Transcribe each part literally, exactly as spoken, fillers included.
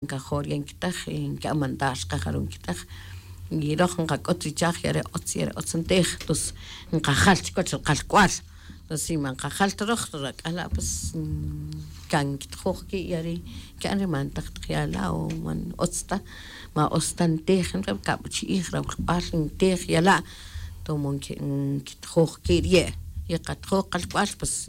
Nkajo' ri ya nkitaj, nki'an mandar chqe jarun nkitaj. Y roj nqak'ut ri chaj ya re' utz ya re' utz ntij. Tos nqajal chikiwach ri qalk'ual. Tos si man nqajal ta roj rak'ala' pues, kan nkitjoj ki' ya ri' nki'an ri man ntaj taq ya la' o man utz ta, man utz ta ntij. Kabuchi'ij rawlk'ual ntij ya la'. Tomo nkitjoj ki' ri ye' y qatjoj qalk'ual pues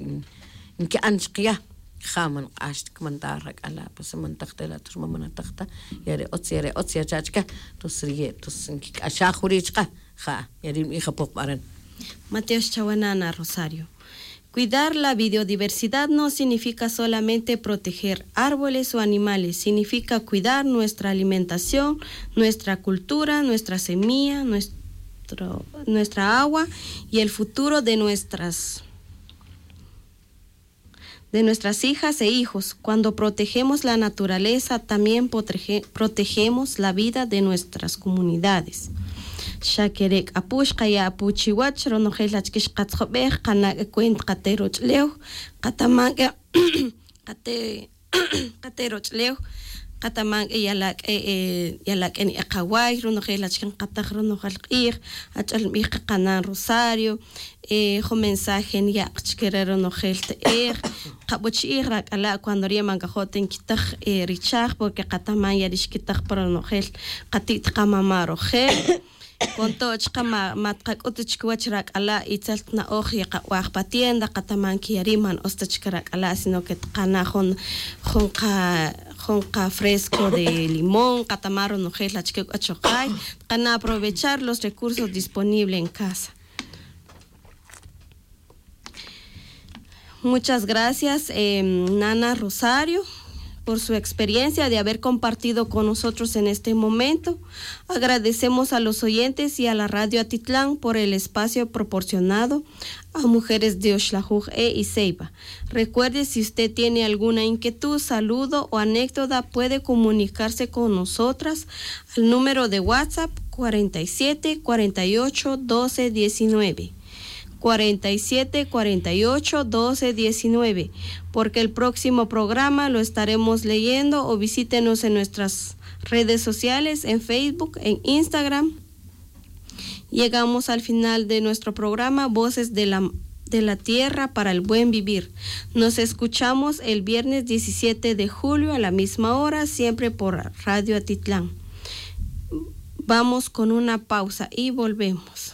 nki'an chqe ya. Ja man nq'ax ta kmandar rak'ala' pues man ntaj ta la' tos ri man man ntaj ta ya re' utz ya re' utz ya cha' chke. Tos ri ye' tos nkik'axaj jun ri' chqe. Ja ya ri' nbij apo jb'aran. Matiox chawe nana Rosario. Cuidar la biodiversidad no significa solamente proteger árboles o animales, significa cuidar nuestra alimentación, nuestra cultura, nuestra semilla, nuestro, nuestra agua y el futuro de nuestras de nuestras hijas e hijos. Cuando protegemos la naturaleza, también protege- protegemos la vida de nuestras comunidades. Xa kere' k'a pu xqaya' apu chiwach ronojel achike xqatzjob'ej qana' k'a cuenta qate' roch'ulew, qataman k'a qate' qate' roch'ulew, qataman k'a yala' k'a yala' k'a ni'eq awaay ronojel achike nqataj ronojel q'iij. Ach'el nb'ij qa qanan Rosario. Jun mensaje niya'q chike re ronojel te'ej. Qabuchi'ij rak'ala' cuando riye' man kajo' ta nkitaj ri chaj porque qataman ya ri' xkitaj pa ronojel qati't qamama' rojel. Con todo chaqe ma tqak'ut ta chikiwach rak'ala' itzel ta na'oj yaqab'aj pa tienda qataman que ya ri' man utz ta chike rak'ala' sino que tqana' jun jun qa jun qa fresco de limón qataman ronojel achike k'o chuqay. Tqana' aprovechar los recursos disponibles en casa. Muchas gracias, nana Rosario, por su experiencia de haber compartido con nosotros en este momento. Agradecemos a los oyentes y a la Radio Atitlán por el espacio proporcionado a mujeres de Oxlajuj E y Ceiba. Recuerde, si usted tiene alguna inquietud, saludo o anécdota, puede comunicarse con nosotras al número de WhatsApp cuarenta y siete, cuarenta y ocho, doce, diecinueve. Cuarenta y siete, cuarenta y ocho, doce, diecinueve, porque el próximo programa lo estaremos leyendo, o visítenos en nuestras redes sociales, en Facebook, en Instagram. Llegamos al final de nuestro programa Voces de la, de la Tierra para el Buen Vivir. Nos escuchamos el viernes diecisiete de julio a la misma hora, siempre por Radio Atitlán. Vamos con una pausa y volvemos.